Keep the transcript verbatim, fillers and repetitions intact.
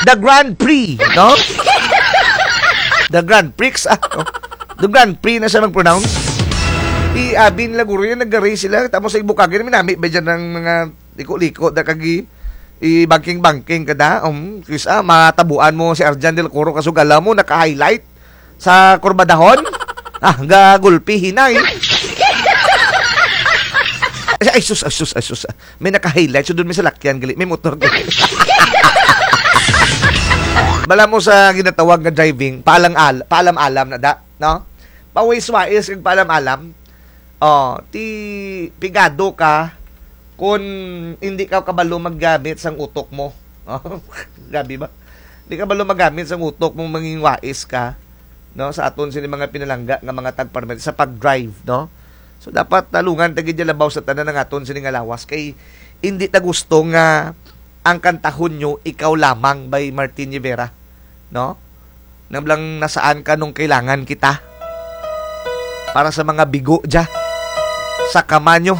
The Grand Prix, no? The Grand Prix, ah, no? The Grand Prix na siya mag-pronounce. Ti abi nila guro yan, nag-race sila. Tapos sa Ibukagin, minami ba dyan ang mga liko-liko, da kag i-, i-banking-banking ka da? Um, kis-a, matabuan mo si Arjan Del Coro, kasugala mo, naka-highlight sa kurbadahon? Ah, gagulpi, hinay. Ay, sus, ay, sus, ay, sus. May naka-highlight, sundon mi salakyan, gali, may motor, gali. Bala mo sa ginatawag nga driving, paalang-al-, paalam-alam na da, no? Pawais-wais kag paalam-alam. O, ti pigado ka kon indi ka kabalo maggamit sang utok mo. O, grabe ba? Indi kabalo maggamit sang utok mo, mangin wais ka, no? Sa aton sini mga pinalangga nga mga tagparmit sa pag-drive, no? So, dapat talungan ta gid dya labaw sa tanan ang aton sini nga lawas. Kay indi ta gusto nga ang kantahon nyo, Ikaw Lamang by Martin Rivera, no? Nang blang Nasaan Ka Nung Kailangan Kita. Para sa mga bigo dya. Sa kama nyo.